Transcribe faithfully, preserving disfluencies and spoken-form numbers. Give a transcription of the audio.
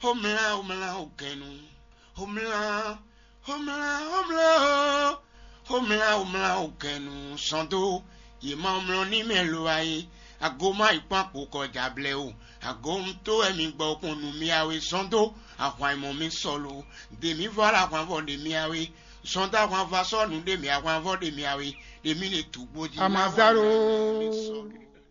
Xomlá, xomlá, o gɛnu. Xomlá, xomlá, xomlá, o. Xomlá, xomlá, o gɛnu. Sɔn dó. Yě ma mlɔ ní mɛ lo a é. Ago má yi kpɔ́n akpo kɔ jablɛ o. Ago un tó wɛ mi gbɔ kpɔn nú mì a wé. Sɔn dó. Ahwan e mɔ mi sɔlo. Dě mi vɔ la ahwan vɔ ɖe mi a wé. Sɔn dó ahwan vɔ sɔ́ nǔ ɖe mi ahwan vɔ ɖe mi a wé. Ɖe mi ne tǔgbó jí. Amazaro.